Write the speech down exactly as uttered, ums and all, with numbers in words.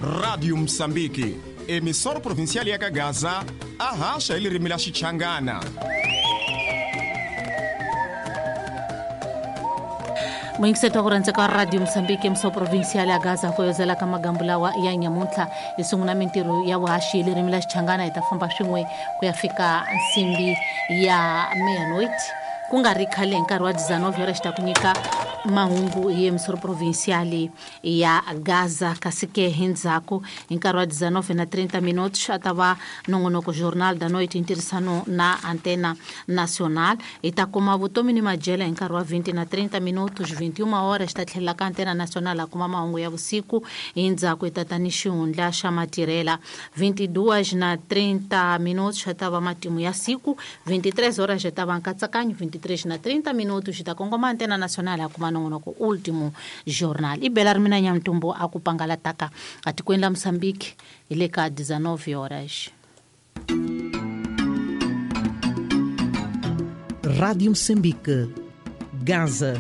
Rádio Moçambique, emissora provincial ya Gaza, arracha ele rimila Xichangana. Muyingiseti wa ku rhandzeka Radio Mozambique emso provincial ya Gaza foyozela ka magambu lawa ya nyamuntlha hi sungula mintirho ya vuhaxi hi ririmi la Xichangana hi ta famba swin'we ku ya fika nsimbi ya meia-noite ku nga ri khale hi nkarhi wa dezenove horas ta ku nyika mahungu hi emsoro provincial ya Gaza kasi ke hi ndzhaku hi nkarhi wa dezenove na trinta minutos a ta va nongonoko Jornal da Noite ntirhisano na Antena Nacional hi ta kuma vutomi ni majela hi nkarhi wa vinte na trinta minutos vinte e uma horas ta tlhelela ka Antena Nacional a kuma mahungu ya vusiku hi ndzhaku hi ta ta ni xihundla xa matirhela vinte e duas na trinta minutos a ta va matimu ya siku vinte e três horas ta va nkatsakanyo vinte e três na trinta minutos ta kongoma Antena Nacional a kuma nongonoko Último Jornal i bela ri mina Nyamutumbu a ku pangalataka atikweni la Mozambique hi le ka dezenove horas. Rádio Moçambique, Gaza.